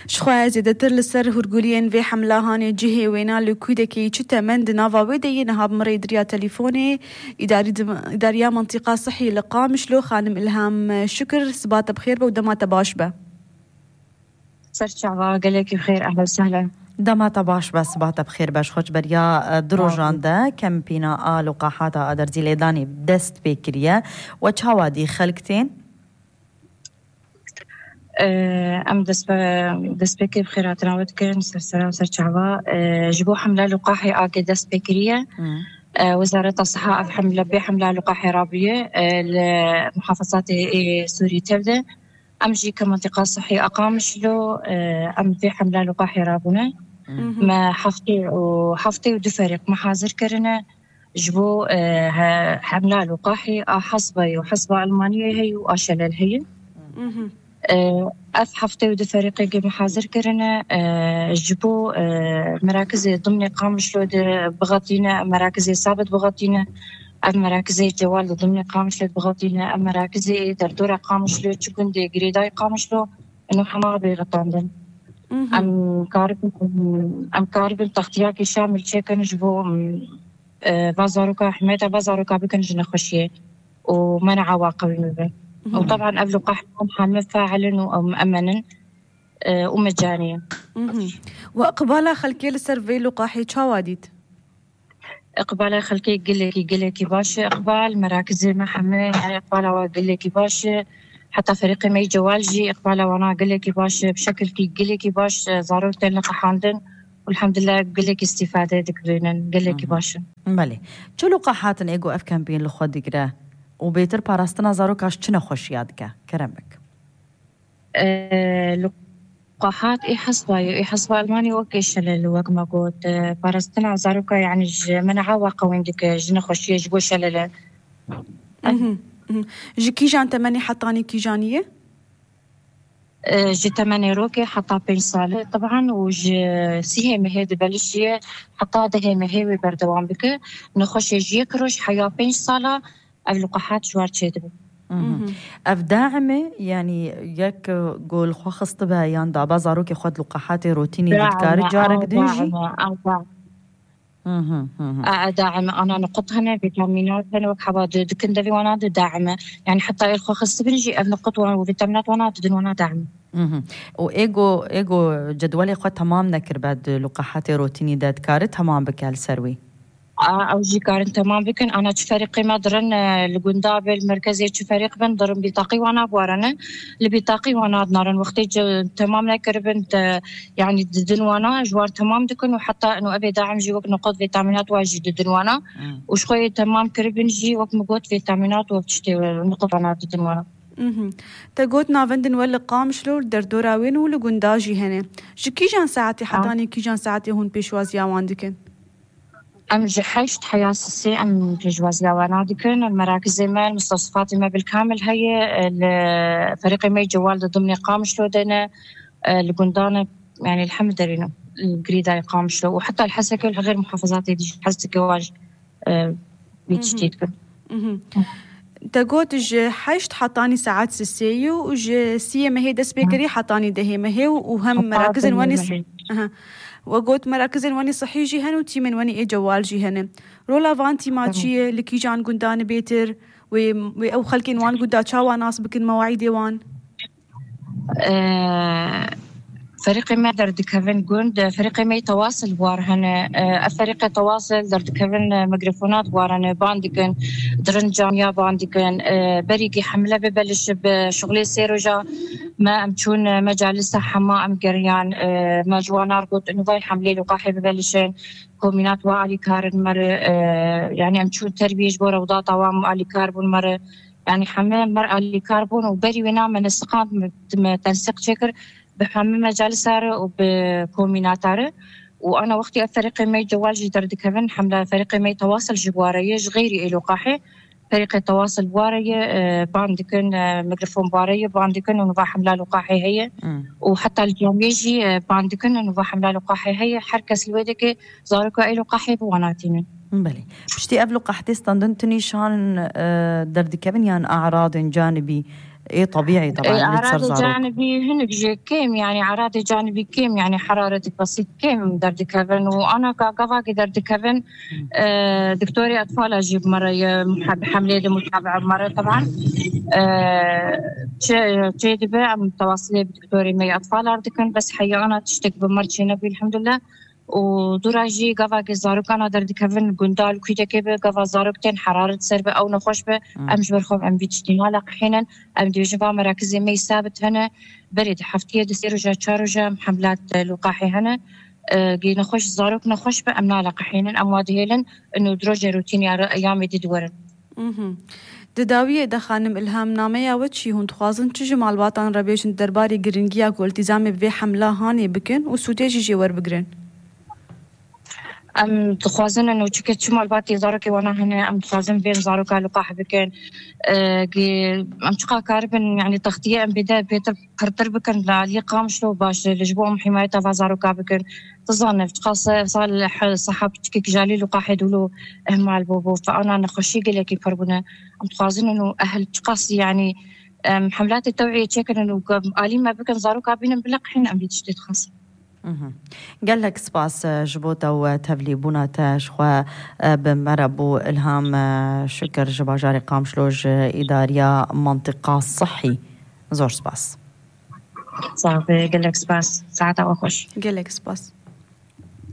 شخواه زيادتر لسر هرگولین و حمله هانی جهه وینا لکوده که چطه من دناوا ویده نهاب مريد ريا تليفوني إدارية منطقة صحي لقامش لو خانم إلهام شكر سبات بخير ودمات باش به سرچاوا قالك بخير أهلا وسهلا دمات باش بس سبات بخير باش خوش بريا دروجان ده كم بينا لقاحاتا أدر زيليداني بدست بكريا وچاوادي خلقتين أم دست بكر بخيرات راود كرن سرسرا وسرچاوا جبو حملة لقاحي آقي دست بكريا وزارة الصحة حملة بحملة لقاحي رابية لمحافظات سوريا تبدأ أم جي كمنطقة صحية أقامش له أم في حملة لقاحي رابنا ما حفتي ودفرق محاضر كرنا جبو حملة لقاحي حصبة وحصبة ألمانية هي وأشلل هي أف حفتي ودفرق جي محاضر كرنا جبو مراكز ضمن قامش له بغطينا مراكز ثابت بغطينا أم مراكز جوال ضمن قامش له بغطينا أم مراكز دردورة قامش له تكون دي جريداي قامش له إنه حمار بغطاندن أم كارب تغطياكي شامل شكل جبو بازاروكا حماية بازاروكا بكن جنا خشية ومنع عواقب المبين وطبعا قبل قحطهم حامل فاعلا ومأمنا ومجانيا وإقبالا خلقي لسرفي لقاحي شواديد إقبالا خلقي قلكي باشا إقبال مراكز المحمية يعني إقبالا وقلكي باشا حتى فريق مي جوالجي إقبالا وانا قلكي باشا بشكل كي قلكي باشا ضرورة لقاحاندن والحمد لله قلكي استفادة دكبينا قلكي باشا بله چه لقاحاتن ايگو اف كامبين لخود دقره وبيتر باراستنا زاروكاش چنه خوشيادكه كرمك لقاحات إيه حسبة ألماني وكي شلل وك ما قلت باراستنا زاروكا يعني منعا وقوين دك جنة خوشية جبو شلل جي كيجان تمني حطاني كيجانية جي تمني روكي حطا بين صالة طبعا وجي سيهي مهيد بلشية حطا دهي مهيوي بردوان بك نخوشي جي كروش حيا بين صالة اللقاحات جوار تشيدبو اف داعمه يعني يك قول خو خصطبها يان دابا زاروكي خد لقاحاتي روتيني دكار جارك دنجي داعمة أنا نقطها فيتامينات أنا وكحبا دكن دبي وانا داعمة يعني حتى الخو خص بنجي نقط وفيتامينات وانا دن وانا داعمة وإيجو جدولي خو تمام نكر بعد لقاحاتي روتيني دكار تمام بكال سروي أو جي كارن تمام بكن أنا تفريقي ما درن الجنداب المركزي تفريق بن درن بطاقي وأنا بورنا لبطاقي وأنا نارن وقتي تمام نكربن يعني ددن وأنا جوار تمام دكن وحتى إنه أبي داعم جي وقت نقط فيتامينات واجد ددن وأنا وشوي تمام كربن جي وقت مقود فيتامينات وبتشتي نقط وأنا ددن وأنا تقول نافندن ولا قام شلو دردورا وين ولا جنداجي هنا كيجان ساعتي حطاني كيجان ساعتي هون بيشوازيا واندكن أم جحشت حياسسي أم بجوازيا ونادكن المراكز ما المستوصفات ما بالكامل هي فريق مي جوال ضمن قامش لو دنا الجندانة يعني الحمد لله الجريدة قامش له وحتى الحسكة غير محافظات دي حسكة واج بيتشتيتكن تقول حشت حطاني ساعات سيو وج سي ما هي دس بيكري حطاني ده ما هي وهم مراكز واني وقلت مراكز واني صحي جهن وتي من واني جوال جهن رولا فانتي ماتشي لكي جان قندان بيتر او خلكين وان قدا تشاوا ناس بكن مواعيد وان فريق ما درد كفن جند فريق ما يتواصل بوارهن فريق تواصل درد كفن ميكروفونات بوارهن باندكن درن جامعة باندكن بريقي حملة ببلش بشغلي سيروجا ما أمشون مجالس حما أم قريان ما جوانا رقود إنه ضاي حملة لقاحي ببلشين كومينات وعلي كارن مر يعني أمشون تربية جبورة وضاطة وام علي كاربون مر يعني حملة مر علي كاربون وبري ونعم من السقاط تنسيق شكر بحمل مجالسار وبكوميناتار وأنا وقتي فريق مي جوال جدر دكفن حملة فريق مي تواصل جبوارية غيري إلو قاحي فريق التواصل بوارية باندكن ميكروفون بوارية باندكن ونبا حملة لقاحي هي وحتى اليوم يجي باندكن ونبا حملة لقاحي هي حركة الويدك زاركو إلو قاحي بواناتين بلي بشتي قبل قحتي استندنتني شان دردكبن يعني أعراض جانبي ايه طبيعي طبعا أعراض جانبي هن بيجي كيم يعني أعراض جانبي كيم يعني حرارتك بسيط كيم دردكافن وأنا كقفاقي دردكافن دكتوري أطفال أجيب مرة بحملة متابعة مرة طبعا جيدي بقى متواصلة بدكتوري مي أطفال أردكن بس حقيقة أنا تشتك بمرتي نبي الحمد لله ودراجي قفاقي زاروك أنا دردكافن قندال كويتا كيبه قفا زاروكتين حرارة سربة أو نخوش به أمش برخوب عم بيتشتينا لقحينا أم ديوجبا مراكزي مي ثابت هنا بريد حفتية دسيرو جا تشارو جا حملات لقاحي هنا جي نخوش زاروك نخوش به أمنا لقحينا أمواد هيلن إنه دروجة روتيني أيامي دي دورن دداویه دخانم الهام نامه یا وچی هون تخوازن چه جمال واتان ربیشن درباری گرنگیا کو التزام به حمله هانی بکن و سوتیجی جوار بگرن ام تخوازن انه تشكت شمال باتي زاروكي وانا هنا ام تخوازن بين زاروكا لقاح بكن ام تشقا كاربن يعني تغطية ام بدا بيتر قرطر بكن لالي قامشلو باش لجبوهم حماية زاروكا بكن تظنف تقاس صالح صحاب تشكيك جالي لقاح يدولو مع البوبو فانا نخشي قليكي فربنا ام تخوازن انه اهل تقاس يعني حملات التوعية تشكن انه آلي ما بكن زاروكا بينن بلقحين ام بيتشتي تخاص قال لك سباس جبوتا وتفلي بونا شخوا بمربو الهام شكر جباجاري قامشلوج إدارية منطقة صحي زور سباس صافي قال لك سباس ساعتها وخش قال لك سباس